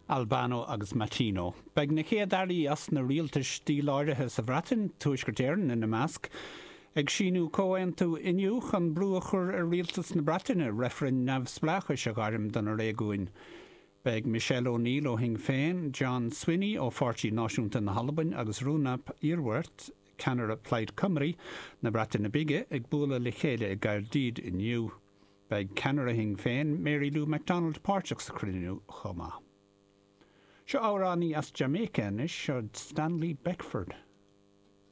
Albano agus Mattino. Beidh na Chéad Airí as na rialtais díláraithe sa Bhreatain, Tuaisceart Éireann ina measc, ag síniú comhaontú inniu chun brú a chur ar rialtas na Breataine reifreann neamhspleáchais a ghairm do na réigiúin. Beidh Michelle O'Neill ó Shinn Féin, John Swinney ó Pháirtí Náisiúnta na hAlbain agus Rhun ap Iorwerth, ceannaire Plaid Cymru na Breataine Bige, ag bualadh le chéile i gCaerdydd inniu. Beidh ceannaire Shinn Féin, Mary Lou McDonald páirteach sa chruinniú chomh maith. Seo amhránaí as Jamaica anois, seo Stanley Beckford.